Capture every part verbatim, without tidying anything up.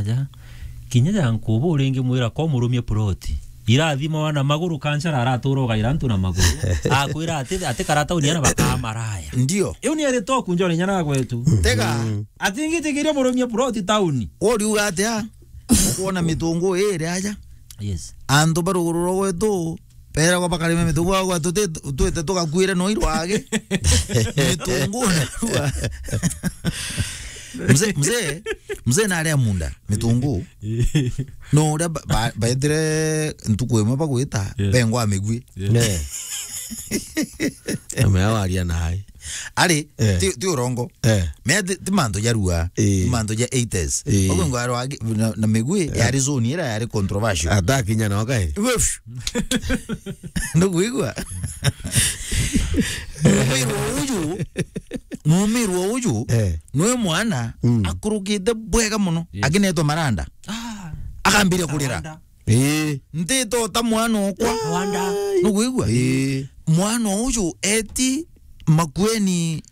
Ya. Kinya ja nkubu uringi mwira ko murumie ploti. Irathima wana maguru kancara aratura ugaira antu na maguru. Akwira ati, ati kara tauni ana bakaa maraya. Ndio. Iu ni ari toku njore nyana gwetu. Tega. Mm. Ati ngitikiria murumie ploti tauni. Uriuga atia? Ukuona mitungu iri aja. Yes. Antu ba ruguru rwa gwetu, beragwa bakarime mitungu, bagwa tuti-, twite tugakuire no irwage. Mitungu narua. Mzee, mzee, mzee naria munda, mitungu. No uria ba-, ba-, baetire ntuku imwe bagwita, yeah, bengwa migwi. Yeah. Amea waria nai. Ari, eh, ti, ti urongo. Eh. Mea ti, ti mantu ja rua, eh, ti mantu ja eighties. Eh. Ogo ngwaro agi-, na, na migwi, eh, yari zone ira yari controversial. Atakinya no kai. Wef. Ndukwigua? Mumirwa uju, mumirwa uju, eh, nwe mwana, mm, akurukite bwega muno, yes, akinetwa maranda. Ah. Akambiria kurira. Maranda. Ii. Ntito ta mwana okwa. Wanda. Nukwigua? Ii. Mwana uju eti Makueni,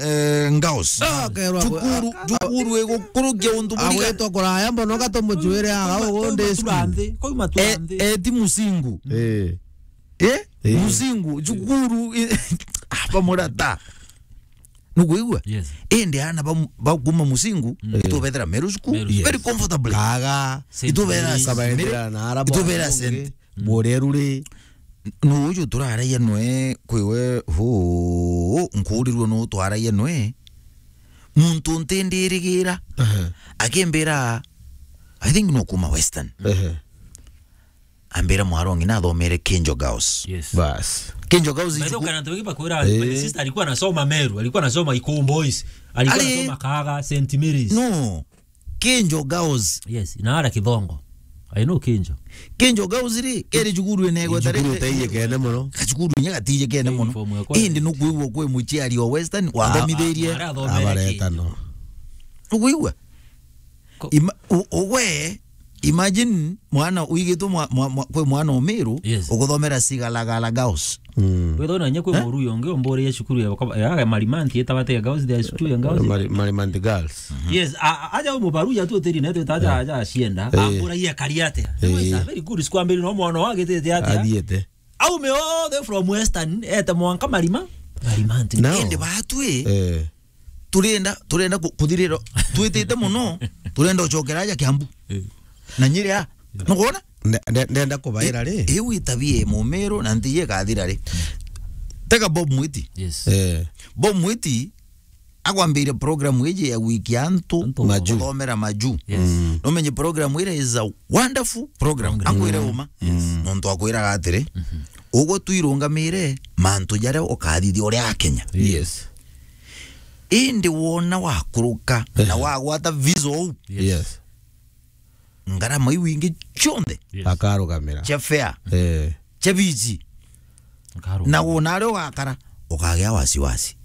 eh, Ngaos. Ah, akerwa, cukuru, ah, cukuru igukurukia untu buriga. Agwitwa kuraya mbono, gatumujuire aga ugundi school. Koima turanthi, koima turanthi. E-, eti Musingu. Ii. Eh? Ii. Musingu, cukuru, i-, ah, bamurata. Nukwigua? Yes. Indi ana ba, ba kuma Musingu, mm, itubethera Meru School. Meru School. Very comfortably. Kaga. Saint Itubera Mary's. Saint Mary. Kabaendera na araba itubera bongi. Saint. Mm. Borerure. Nuuju turaragia nwe kwiwe, huu, nkuurirwe nuu twaragia nwe. Muntu ntindirigira. Aha. Akimbira, I think no kuma Western. Aha. Ambira mwarongi nathomere Kinjo Girls. Yes. Bas. Kinjo Girls. By the way, ijuku- kana ndio bakwira, eh, my sister alikuwa anasoma Meru, alikuwa anasoma Ikumbo Boys, alikuwa, ali- anasoma Kaga, Saint Mary's. No. Kinjo Girls. Yes, na ara Kithongo. I know Kinjo. Kinjo Girls ri, keri cukuru ene gweta. Cukuru ri- utaiye kene muno. Kacukuru inya gatiye kene muno. Uniform ya kwa- Indi nukwigua kwi muciari o Western, ah, wathomithirie. Ah, ara athomere Abareta Kinjo. No. Nukwigua? Ko- Ima-, u-, u-, we, imagine mwana uigitwe mwa-, mwa-, mwa-, kwi mwana o Meru, yes, uguthomera Sigalagala Girls. Mm. Withona nye kwi, eh? Muruya ungi umburiye cukuru ya, ya Marimanti, itabatega Girls, the cukuru ya Girls. Mari-, Marimanti Girls. Mhm. Yes, a-, a-, aja umubaruya tu tiri netu taja, eh, aja acienda, eh, amburagia kari atia. Eh. It's a very good school, ambiri no mwana wagitite atia. Athiete. Aume othe from Western, ete mwanka Marima, Marimanti. No. Indi batwi, eh, turenda, turenda ku-, kuthirira, twitite muno, turenda ucokera aja Kiambu. Eh. Na Nyeri a, nukwona? Nde-, nde-, ndenda kubaira ri? I-, iu itabia ya Mumiru na nti ikathira ri? Tega Bob Mwiti. Yes. Eh. Bob Mwiti, akwambiria program iji ya wiki ya antu, antu, maju, guthomera maju. Yes. Mm. Numenye program ira is a wonderful program. Program. Ankwire, mm, uma. Yes. Nontu akwiraga atiri, mhm, ugwe twirungamire mantu jaria ukathithia uria Akenya. Yes. Indi wona wakuruka, eh, na wagwata visa uu. Yes. Yes. Ngarama iu ingi cionthe. Yes. Akarugamira. Cia fare. Eh. Cia bici. Akarugamira. Na wona aria ugakara, ukagia wasiwasi.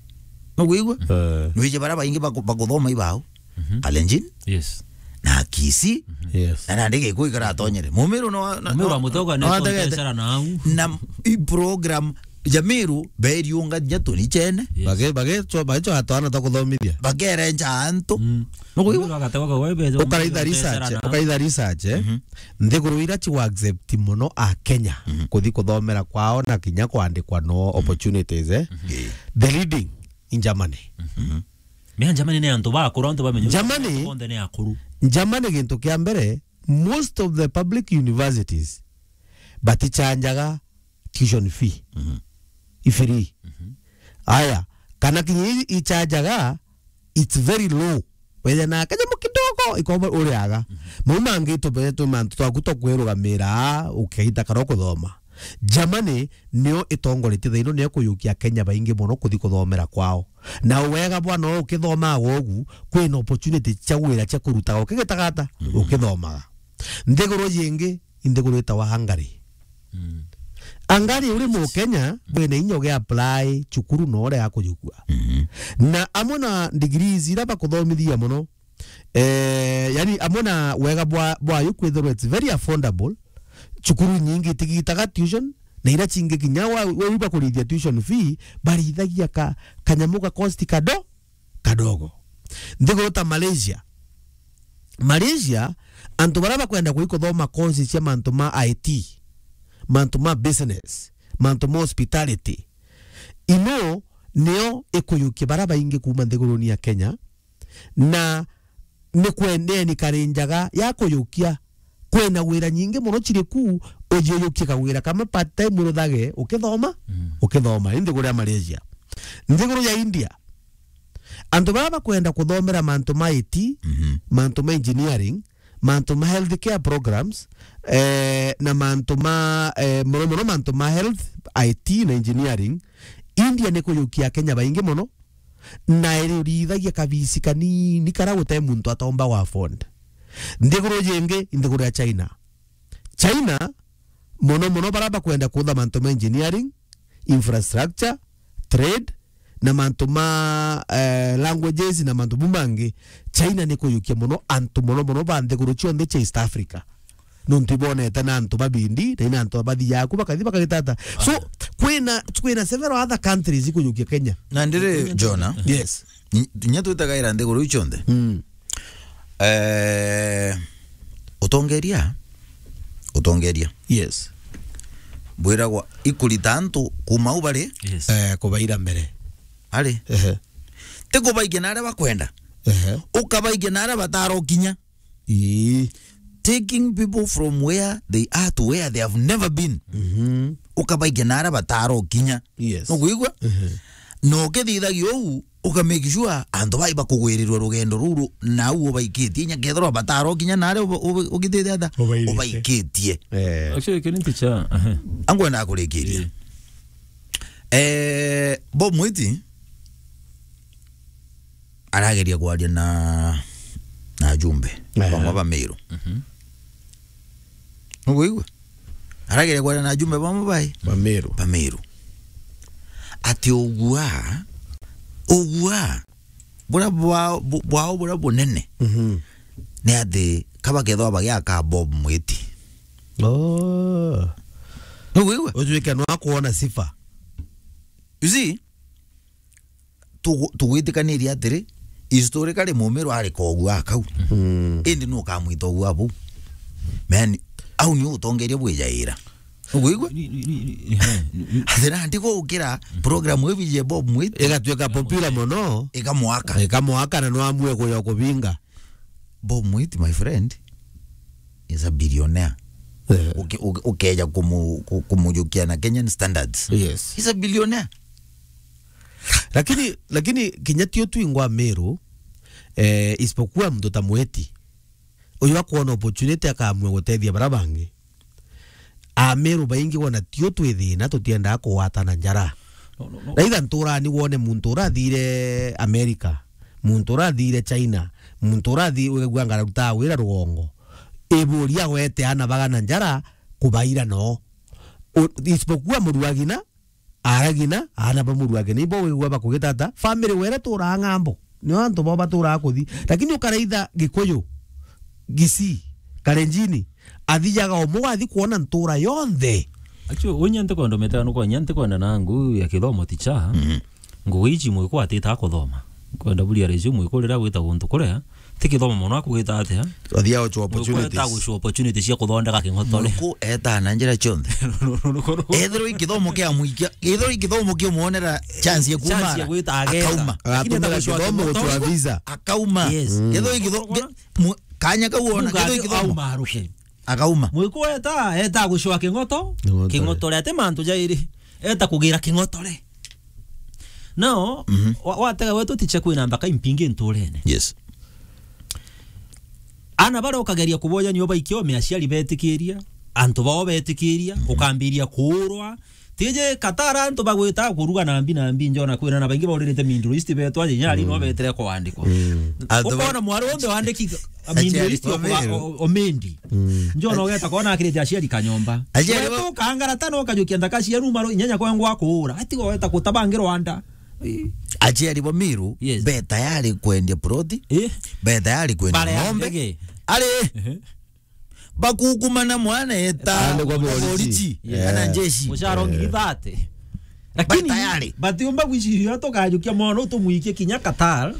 Nukwigua? Eh. Nwije baria baingi baku-, bakuthoma ibau. Mhm. Kalenjin. Yes. Na Kisii. Mhm. Yes. Na nandi Gikuyu ikaratonyere. Mumiru no, no, Mumiru no, wa Mutoga no ni ategete. Tongesera na au. Na i program Jamiru, beriunga ja tuni chene. Yes. Bage-, bage-, cho-, bage-, cho atwana ta kuthomithia. Bakerenja antu. Mm. Nukwigua? Ukaitha research, ukaitha research, eh? Mhm. Nthiguru ira chiwa accept muno a Kenya, mhm, kuthi kuthomera kwao na kinya kwandikwa no, mhm, opportunities, eh? Mhm. Eh. The leading in Germany. Mhm. Mea Germany ni antu bakuru, antu bamenye. Germany, konthe ni akuru. Germany gintu kia mbere, most of the public universities batichanjaga tuition fee. Mhm. I free. Mhm. Aya, kana kinya i-, ichajaga, it's very low. Wethe na kanyamu kidogo, ikoba uriaga. Mhm. Mau mangi tubetwe mantu twaku twa kwirugamira, ukaita karo kuthoma. Germany nio itongoretie thaino, nio kuyukia Kenya baingi muno kuthi kuthomera kwao. Na wega bwa no ukithomaga ugu, kwina opportunity cia wira cia kurutaga ukigitagata, mhm, ukithomaga. Nthiguru jingi, i nthiguru itawa Hungary. Mm. Hungary uri Mukenya, wina inya ugi apply cukuru na uria akujukua. Mhm. Na amwe na degrees ira bakuthomithia muno, eh, yani amwe na wega bwa, bwayo kwithirwa it's very affordable, cukuru nyingi itigitaga tuition, na ira cingi kinya wa, wa, wa kurithia tuition fee, barithagia ka, kanyamu ga cost kado-, kadogo. Nthiguru ta Malaysia, Malaysia, antu baria bakwenda kuthi kuthoma courses cia mantu ma I T, mantu ma business, mantu ma hospitality, ino nio ikuyukia baria baingi kuuma nthiguruni ya Kenya, na ni kwendeni kari njaga ya kuyukia. Kwina wira nyingi mono ciri ku, ujiyukie kawira kamwe part time uruthage ukithoma, Mm. ukithoma. Indi kuria Malaysia. Nthiguru ya India, antu baria bakwenda kuthomera mantu ma I T, Mhm. mantu ma engineering, mantu ma healthcare programs, eh, na mantu ma, eh, mono mono mantu ma health, I T na engineering, India ni kuyukia Akenya baingi mono, na iriurithagia kabisi kanini karia gutai muntu atomba wa afford. Nthiguru jingi, nthiguru ya China. China, mono mono baria bakwenda kutha mantu ma engineering, infrastructure, trade, na mantu ma, eh, languages na mantu bu mangi, China ni kuyukia mono antu mono mono ba nthiguru cionthe cia East Africa. Nontu ibonete na antu babindi, na ina antu bathiaga ku bakathi bakagitata. So, kwina, kwina several other countries ikuyukia Kenya. Na ndiri Jona, Yes. ni-, nya twitagaira nthiguru iu cionthe. Mm. Eh, utongeria, utongeria. Yes. Bwiragwa ikurita antu kuma u bari. Yes. Eh, kubaira mbere. Ari. Ehe. Ti kubaikia na aria bakwenda. Ehe. Ukabaikia na aria batarokinya. Ii. Taking people from where they are to where they have never been. Mhm. Ukabaikia na aria batarokinya. Yes. Nukwigua? Mhm. Na ukithithagia uu, uka make sure antu bai bakugwirirwa rugendo ruru, na au ubaikitie, inya kethirwa batarokinya na aria uba-, uba-, ugithithe atha, Ubaikitie. ubaikitie. Eh. Actually, kiri nti cha, aha. Angwenda kurikiria. Ii. Eh, Bob Mwiti, arageria kwaria na, na ajumbe Aha. bamwe ba Meru. Mhm. Nukwigua? Arageria kwaria na ajumbe bamwe bai? Ba Meru. Ba Meru. Ati ugua, ugua, buria bwa-, bu-, bwao buria bunene Mhm. ni ati kaba kethwa bagiaka Bob Mwiti. Oh. Nukwigua? Utuike nwa kuona sifa. You see? Tugu-, tugwitikanirie atiri, historically Mumiru ari kogu akau. Mm. Indi nu ukamwita ogu abau? Man, au ni utongeria bwijaira. Nukwigua? Ni, ni, ni, ni, ehe, ni, ni. Athira ndi gukira program ibi je Bob Mwiti. Igatuika popular mono. Ikamwaka. Ikamwaka na no amue kuya kubinga. Bob Mwiti, my friend, is a billionaire. Eh. Uke-, uke-, ukeja kumu-, ku-, kumujukia na Kenyan standards. Yes. He's a billionaire. Lakini, lakini kinya tio twingwa Meru, eh, isipokuwa mtu ta Mwiti. Uyu akwona opportunity akamua gutethia bara bangi. Ameru baingi wona tio twi thina, tutiendaa kugwatana njara. No, no, no. Raitha nturani wone muntu urathire America, muntu urathire China, muntu urathi-, wigua ngararutaa wira rugongo. Iburia wete ana bagana njara kubaira no. U-, isipokuwa muruagina, aragina, ana ba muruagina, ibo wigua bakugitata, family were turaa ng'ambo. Nio antu bo baturaa kuthi. Lakini ukaraitha Gikuyu, Gisi, Kalenjini, athijaga umwe wathi kuona ntura yonthe. Actually, unya ntikwenda umetega nuko, nya ntikwenda na ngu ya kithomo ticha. Mhm. Ngugi ici mwiku atita kuthoma. Kwenda buria reju mwiku rira gwita guntu kuria, ti kithomo mono akugita atia? Athia gucwa opportunities. Mwiku eta gucwa opportunity cia kuthondeka king'otore. Mwiku eta na njira cionthe. Ethirwa i kithomo kia muikia, ethirwa i kithomo kia muonera chance ya Chance ya kumara, gwita ageta. Akauma. Lakini eta gucwa kithomo king'otore. Gucwa visa. Akauma. Yes. Mm. Ethirwa i kitho-, Ukoona? Mu-, kanya kau wona, Mungu kethirwa i ake kithomo. Auma aruke. Akauma. Mwiku eta, eta gucwa king'oto, King'otore. King'otore ati mantu jairi, eta kugira king'otore. Nao, Mhm. wa-, watega wetu tiche kwina mbaka impingi nturene. Yes. Ana baria ukageria kuboja nio baikia ome aciari betikiria, antu bao betikiria, Mhm. ukambiria kuurwa, Tiji Qatar antu bagwita kuruga na mbi na mbi, njona kwina na baingi bauririte Middle East betwa, je nyari no Mm. betere kwandikwa. Mm. Antu ba- Ukona mwari wonthe wandiki Middle East Aciari okuba ba Meru. O-, Omendi. Mm. Njona ugeta kona akirite aciari kanyomba. Aciari ba- Wetu kangara tano ukajukia nthaka cia ruma ro inyanya kwa ngwa kuura. Ati weta kutabangirwa anda. Aciari ba Meru, Yes. be tayari kwendia ploti, Eh? be tayari kwendia Bare ya ng'ombe. Ndege. Ari, Ehe. Bakukumana mwana eta Aandikwa borichi. Borichi, Yeah. kana njeshi. Mucara ngiri thirty. Lakini Ba tayari. Batiumba gwiciria tukajukia mwana utumwikie kinya Qatar.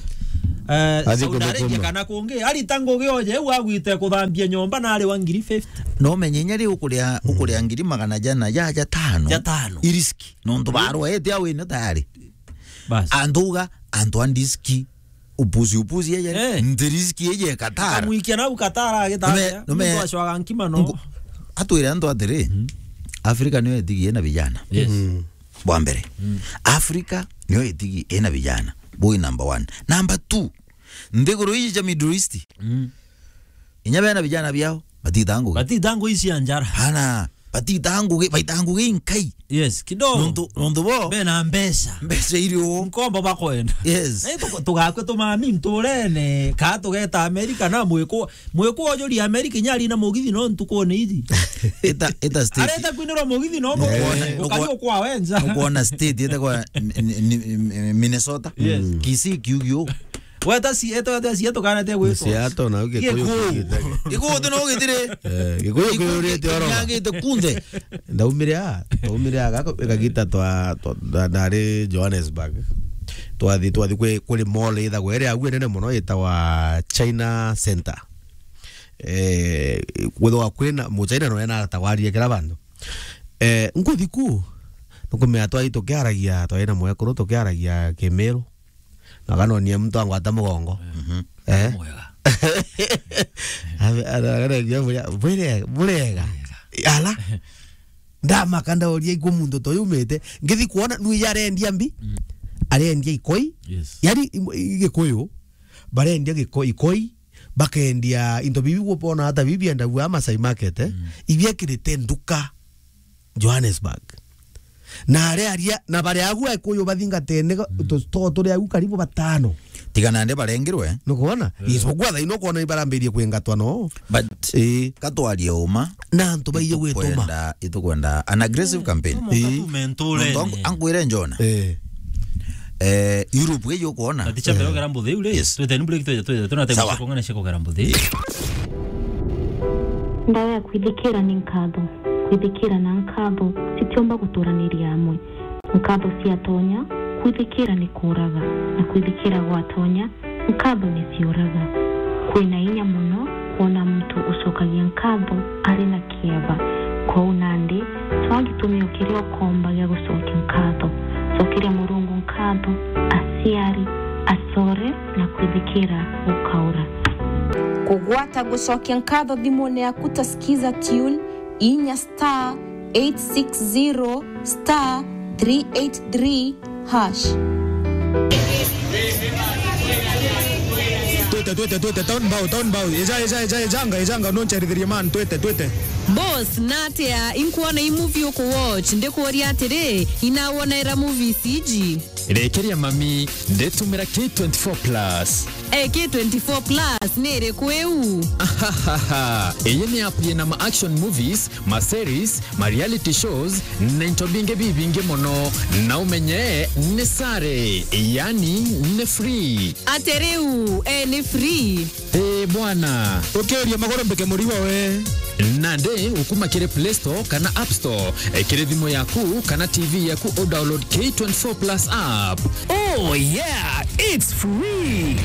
eh, Athi Saudi Arabia kuthukuma. Kana kungi. Arita ngugi oje, u agwite kuthambia nyomba na ari wa ngiri fifty. No menye inya riu ukuria, ukuria ngiri magana jana ja, ja tano. Ja tano. I riski. Nontu barwa ete awine tayari. Bas. Antu uga, antu a ndiski, upuzi, upuzi eje. Eh. Nti riski eje Qatar. Kamwikia nau Qatar agitaria. Nume, nume, muntu acwaga nkima no. Ngu-, atwire antu atiri, Afrika niyo itigi ina vijana. Yes. Mm. Bwa mbere. Mm. Afrika niyo itigi ina vijana. Boy number one. Number two, nthiguru iji ja Middle East. Mm. Inya bena vijana biao, batita ngugi. Batita ngugi cia njara. Hana, batita ngugi, baita ngugi inkai. Yes, kidogo. Nontu, nontu bo. Bena mbeca. Mbeca irio. Nkombo bakwenda. Yes. Na itu-, tugakua tumami nturene, ka tugeta Amerika na mwiku, mwiku ojuri Amerika inya ari na mugithi no ntukune iji. Ita, ita state. Areta kwinirwa mugithi no. Eh, mukone, ukari ukwa wenza. Ukuona state, ita kwa n-, n-, n-, Minnesota. Yes. Kisii kiugio. Weta si, eto, weta si, eto kana te gwitwa. Siato na uge Gikuyu. Gikuyu tu no gitire. Eh, Gikuyu kuyurite oro. Nyagite kunthe. Ndaumire a, ndaumire a, gako, gagita twa, twa, nda-, ndari Johannesburg. Twathi, twathi kwi, kuri mall ithagwa iri agu nene muno itagwa China Center. Eh, kwithwa kwina Muchina no ena atagwaria kira bandu. Eh, nkuthi ku, nukumenya twai tukiaragia, twai na mwekuru tukiaragia Kimiru. Na akanonia muntu angwata mugongo. Mhm. Eh? Mwega. Ame-, ara-, ara-, bure-, burega. Ala. Ndamaka ndauria ikwo muntu ta uyu umite. Ngithi kwona nui arendia mbi. Mm. Arendia ikoi. Yes. Yani, i-, i-, Gikuyu. Barendia giko-, ikoi. Bakendia into bibi gwopona hata bibi biendagua Masai Market, eh? Mm. Ibiekirite nduka. Johannesburg. Na aria aria, na baria agu Gikuyu bathingatene, mm, tu store turi agu karibu batano. Tiga nandi barengirwe. Nukwona? Eh. Isipokuwa thaino kwona ibarambirie kwingatwa no. But, eh, katwarie uma. Na antu baije gwituma. Itukwenda, itukwenda an aggressive campaign. Eh. Nontu angu-, angwire Jona. Eh. Eh, Europe iji ukwona. Ati cha mbere, eh, kugera mbuthi iu ri? Yes. Twite ni break, twite, twite, tuna time. Sawa. Cia kong'ana cia kugera mbuthi. Ndawa ya kwithikira ni nkatho. Kwithikira na nkatho citiumba guturaniria amwe. Nkatho ciatonya, kwithikira ni kuuraga, na kwithikira gwatonya, nkatho ni ciuraga. Kwina inya mono kwona muntu ucokagia nkatho ari na kieba. Kwou nandi, cwaa gitumi o kiria ukomba gia gucokia nkatho. Cokeria Murungu nkatho, aciari, acore, na kwithikira gukaura. Kugwata gucokia nkatho thimune yaku ta Skiza Tune, inya star eight six zero star three eight three hash. Twite, twite, twite, town bow, town bow. Eja, eja, eja, ejanga, ejanga, noncherithirie man, twite, twite. Boss, natia, inkwona i movie uku watch, ndikuuria atiri, inawonera movies iji? Rekeria mami, ndetumira K twenty-four plus. Eh, K twenty-four plus ni iriku iu? Ahahaha. Iyi ni app yina ma action movies, ma series, ma reality shows, na into bingi bibingi mono. Na umenye ni sare, yani ni free. Ate riu, eh, ni free? Eh, bwana. Ukiuria maguru mbike murigo we. Nandi ukuma kiri Play Store kana App Store, eh, kiri thimu yaku kana T V yaku u download K twenty-four plus app. Oh yeah, it's free.